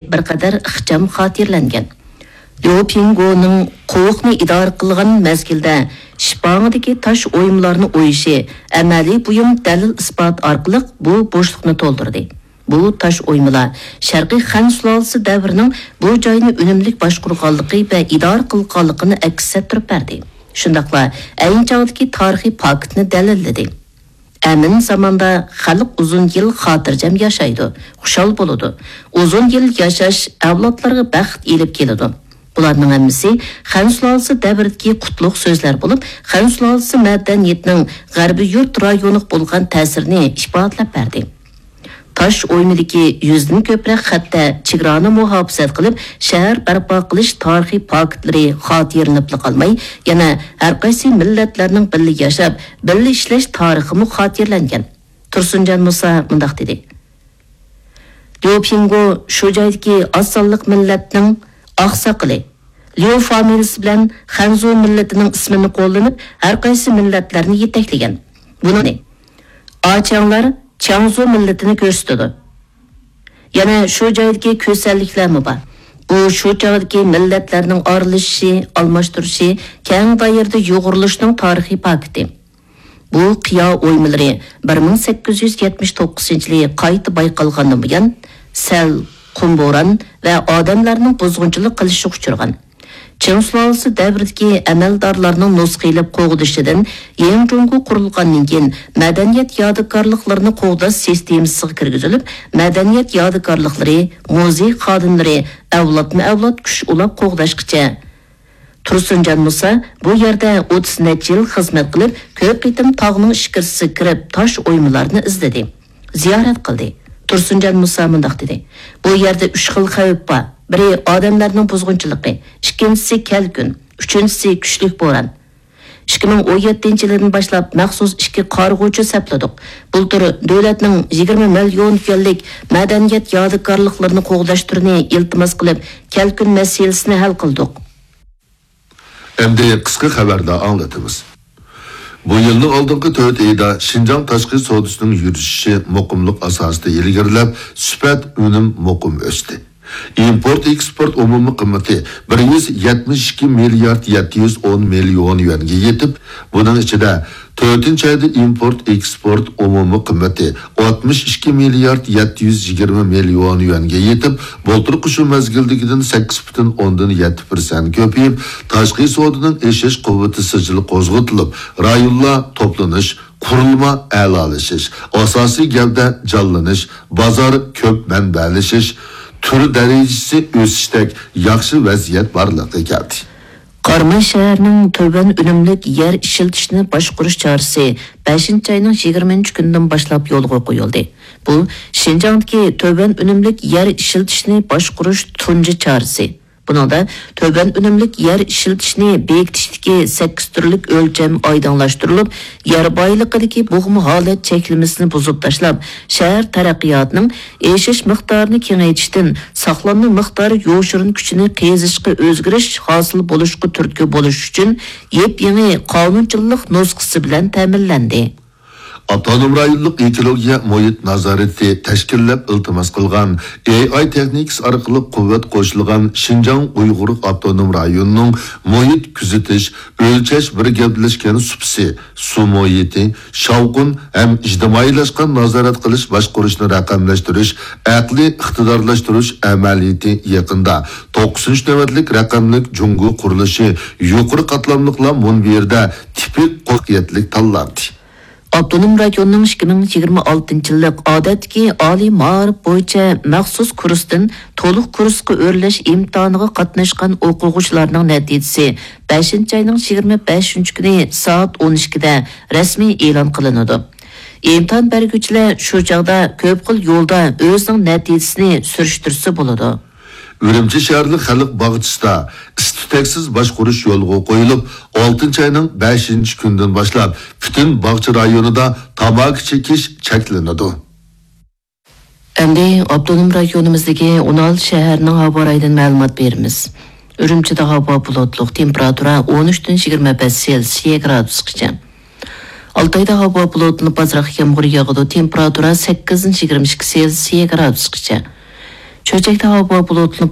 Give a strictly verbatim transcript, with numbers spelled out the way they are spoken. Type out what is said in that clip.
بىر قەدەر ئىخچام خاتىرىلەنگەن. ليۇ پىڭگونىڭ قوۋۇقنى ئىدارە قىلغان مەزگىلدە شىپاڭىدىكى تاش ئويمىلارنى ئويۇشى ئەمەلىي بۇيۇم دەلىل-ئىسپات ئارقىلىق بۇ بوشلۇقنى تولدۇردى. بۇ تاش ئويمىلار شەرقىي خەن سۇلالىسى دەۋرىنىڭ بۇ جاينى ئۈنۈملۈك باشقۇرغانلىقى ۋە ئىدارە قىلغانلىقىنى ئەكس ئەتتۈرۈپ بەردى. شۇنداقلا ئەينى چاغدىكى تارىخىي پاكىتنى دەلىللىدى. ئەمىن زاماندا خەلق ئۇزۇن يىل خاتىرجەم ياشايدۇ، خۇشال بولىدۇ. ئۇزۇن يىل ياشاش ئەۋلادلارغا بەخت ئېلىپ كېلىدۇ. بۇلارنىڭ ھەممىسى خەن سۇلالىسى دەۋرىدىكى قۇتلۇق سۆزلەر بولۇپ، خەن سۇلالىسى مەدەنىيىتىنىڭ غەربىي يۇرت رايونىغا بولغان تەسىرىنى ئىپادىلەپ بەردى. تاش ئويمىدىكى يۈزدىن كۆپرەك خەتتە چېگرانى مۇھاپىزەت قىلىپ، شەھەر بەرپا قىلىش تارىخىي پاكىتلىرى خاتىرىلىنىپلا قالماي، يەنە ھەرقايسى مىللەتلەرنىڭ بىللە ياشاپ، بىللە ئىشلەش تارىخىمۇ خاتىرىلەنگەن. تۇرسۇنجان مۇسا مۇنداق دېدى: ليۇ پىڭگو شۇ جايدىكى ئاز سانلىق مىللەتنىڭ ئاقساقىلى، ليۇ فامىلىسى بىلەن خەنزۇ مىللىتىنىڭ ئىسمىنى قوللىنىپ، ھەرقايسى مىللەتلەرنى يېتەكلىگەن. بۇنى ئاچياڭلار چياڭزۇ مىللىتىنى كۆرسىتىدۇ. يەنە شۇ جايدىكى كۈسەنلىكلەرمۇ بار. بۇ شۇ چاغدىكى مىللەتلەرنىڭ ئارىلىشىشى، ئالماشتۇرۇشى، كەڭ دائىرىدە يۇغۇرۇلۇشىنىڭ تارىخىي پاكىتى. بۇ قىيا ئويمىلىرى بىر مىڭ سەككىز يۈز يەتمىش توققۇزىنچى يىلى قايتا بايقالغاندىن بۇيان، سەل، قۇم بوران ۋە ئادەملەرنىڭ بۇزغۇنچىلىق قىلىشىغا ئۇچرىغان. چىڭ سۇلالىسى دەۋرىدىكى ئەمەلدارلارنىڭ نۇسخا ئېلىپ قوغدىشىدىن يېڭى جۇڭگو قۇرۇلغاندىن كېيىن، مەدەنىيەت يادىكارلىقلىرىنى قوغداش سىستېمىسىغا كىرگۈزۈلۈپ، مەدەنىيەت يادىكارلىقلىرى، مۇزېي خادىملىرى ئەۋلادمۇ ئەۋلاد كۈچ ئۇلاپ قوغداشقىچە. تۇرسۇنجان مۇسا بۇ يەردە ئوتتۇز نەچچە يىل خىزمەت قىلىپ، كۆپ قېتىم تاغنىڭ ئىچكىرىسىگە كىرىپ، تاش ئويمىلارنى ئىزدىدى، زىيارەت قىلدى. تۇرسۇنجان مۇسا مۇنداق دېدى: بۇ يەردە ئۈچ خىل خەۋپ بار. بىرى ئادەملەرنىڭ بۇزغۇنچىلىقى، ئىككىنچىسى كەلكۈن، ئۈچىنچىسى كۈچلۈك بوران. ئىككى مىڭ ئون يەتتىنچى يىلىدىن باشلاپ مەخسۇس ئىككى قارىغۇچى سەپلىدۇق. بۇلتۇر دۆلەتنىڭ يىگىرمە مىليون يۈەنلىك مەدەنىيەت يادىكارلىقلىرىنى قوغداش تۈرىنى ئىلتىماس قىلىپ، كەلكۈن مەسىلىسىنى ھەل قىلدۇق. ئەمدى قىسقا خەۋەردە ئاڭلىتىمىز. بۇ يىلنىڭ ئالدىنقى تۆت ئېيىدا شىنجاڭ تاشقى سودىسىنىڭ يۈرۈشۈشى مۇقىملىق ئاساسىدا ئىلگىرىلەپ، سۈپەت، ئۈنۈم مۇقىم ئۆستى. ئىمپورت ئېكسپورت ئومۇمىي قىممىتى بىر يۈز يەتمىش ئىككى مىليارد يەتتە يۈز ئون مىليون يۈەنگە يېتىپ، بۇنىڭ ئىچىدە تۆتىنچى ئايدا ئىمپورت ئېكسپورت ئومۇمىي قىممىتى ئاتمىش ئىككى مىليارد يەتتە يۈز يىگىرمە مىليون يۈەنگە يېتىپ، بۇلتۇرقى شۇ مەزگىلدىكىدىن سەككىز پۈتۈن ئوندىن يەتتە پىرسەنت كۆپىيىپ، تاشقى سودىنىڭ ئېشىش قۇۋۋىتى سىجىل قوزغىتىلىپ، رايونلار توپلىنىش، قۇرۇلما ئەلالىشىش، ئاساسىي گەۋدە جانلىنىش، بازار كۆپ مەنبەلىشىش، تۈر دەرىجىسى ئۆسۈشتەك ياخشى ۋەزىيەت بارلىققا كەلدى. قاراماي شەھىرىنىڭ تۆۋەن ئۈنۈملۈك يەر ئىشلىتىشنى باشقۇرۇش چارىسى بەشىنچى ئاينىڭ يىگىرمىنچى كۈنىدىن باشلاپ يولغا قويۇلدى. بۇ شىنجاڭدىكى تۆۋەن ئۈنۈملۈك يەر ئىشلىتىشنى باشقۇرۇش تۇنجى چارىسى. بۇنىڭدا تۆۋەن ئۈنۈملۈك يەر ئىشلىتىشنى بېكىتىشتىكى سەككىز تۈرلۈك ئۆلچەم ئايدىڭلاشتۇرۇلۇپ، يەر بايلىقىدىكى بوغما ھالەت چەكلىمىسىنى بۇزۇپ تاشلاپ، شەھەر تەرەققىياتىنىڭ ئېشىش مىقدارىنى كېڭەيتىشتىن ساقلانما مىقدار يوشۇرۇن كۈچىنى قېزىشقا ئۆزگىرىش ھاسىل بولۇشقا تۈرتكە بولۇش ئۈچۈن يېپيېڭى قانۇنچىلىق نۇسخىسى بىلەن تەمىنلەندى. ئاپتونوم رايونلۇق ئېكولوگىيە مۇھىت نازارىتى تەشكىللەپ ئىلتىماس قىلغان، ئېي ئاي تېخنىكىسى ئارقىلىق قۇۋۋەت قوشۇلغان شىنجاڭ ئۇيغۇر ئاپتونوم رايونىنىڭ مۇھىت كۆزىتىش، ئۆلچەش بىر گەۋدىلەشكەن سۇپىسى، سۇ مۇھىتى، شاۋقۇن ھەم ئىجتىمائىيلاشقان نازارەت قىلىش باشقۇرۇشنى رەقەملەشتۈرۈش، ئەقلىي ئىقتىدارلاشتۇرۇش ئەمەلىيىتى يېقىندا توققۇزىنچى نۆۋەتلىك رەقەملىك جۇڭگو قۇرۇلۇشى يۇقىرى قاتلاملىقلار مۇنبىرىدە تىپىك قولغا تاللاندى. ئاپتونوم رايوننىڭ ئىككى مىڭ يىگىرمە ئالتىنچى يىللىق ئادەتتىكى ئالىي مائارىپ بويىچە مەخسۇس كۇرستىن تولۇق كۇرسقا ئۆرلەش ئىمتىھانىغا قاتناشقان ئوقۇغۇچىلارنىڭ نەتىجىسى بەشىنچى ئاينىڭ يىگىرمە بەشىنچى كۈنى سائەت ئون ئىككىدە رەسمىي ئېلان قىلىنىدۇ. ئىمتىھان بەرگۈچىلەر شۇ چاغدا كۆپ خىل يولدا ئۆزىنىڭ نەتىجىسىنى سۈرۈشتۈرسە بولىدۇ. ئۈرۈمچى شەھەرلىك خەلق باغچىسىدا ئىس-تۈتەكسىز باشقۇرۇش يولغا قويۇلۇپ، ئالتىنچى ئاينىڭ بەشىنچى كۈنىدىن باشلاپ پۈتۈن باغچە رايونىدا تاماكا چېكىش چەكلىنىدۇ. ئەمدى ئاپتونوم رايونىمىزدىكى ئون ئالتە شەھەرنىڭ ھاۋا رايىدىن مەلۇمات بېرىمىز. ئۈرۈمچىدە ھاۋا بۇلۇتلۇق، تېمپېراتۇرا ئون ئۈچتىن يىگىرمە بەش سېلسىيە گرادۇسقىچە. ئالتايدا ھاۋا بۇلۇتلىنىپ، ئازراق يامغۇر ياغىدۇ، تېمپېراتۇرا سەككىزدىن يىگىرمە ئىككى سېلسىيە گرادۇسقىچە. چۆچەكتە ھاۋا بۇلۇتلۇق،